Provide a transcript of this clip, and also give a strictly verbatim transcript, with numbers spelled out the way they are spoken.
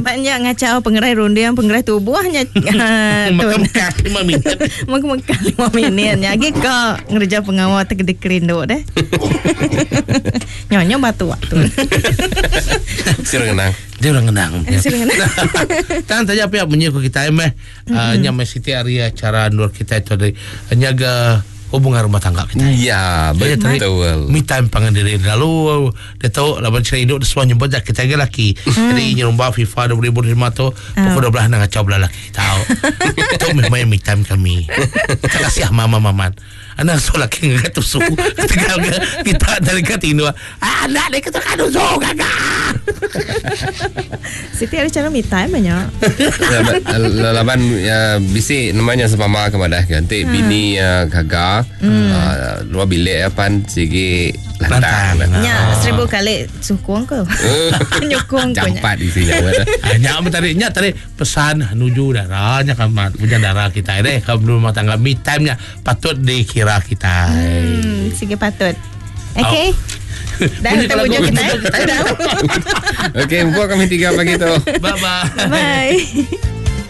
Banyak ngacau pengerai runding, pengerai tubuhnya. Mekah lima minit. Mekah lima minit. Nya lagi ka ngerja pengawa terkedik kerindu deh. Nyonya batu waktu. Sira ngenang. Dia orang ngenang. Sira ngenang. Tang tanya pihak menyiku kita meh. Uh, nya meh siti hari acara nur kita itu dari nyaga hubungan rumah tangga kita. Ya, betul. Me time pangan diri lalu dia tahu laban cerita hidup semua nyebut kita ke laki. Hmm. Jadi nyerumba FIFA dua ribu lima tu pukul dua belas nak kacau belah laki tahu. Itu memang me time kami. Terima kasih mama maman. Anak so laki ngegat susu. Tegal kita dari kat Indo. Ah, anak dia kata kan susu gagah. Siti ada cara me time banyak. Laban ya bisi namanya sepama kepada ganti bini gagah. Hmm. Luar bilik apa sigi lantang. Ya, seribu kali sukong ke. Nyukong ke. Jampat isinya. Nya tadi nya tadi pesan nuju darahnya kamat punya darah kita deh kalau rumah tangga me time nya patut dikira kita. Hmm, sigi patut. Okey. Oh. Dah kita punya kita. Okey, buka kami tiga pagi tu. Bye bye. Bye.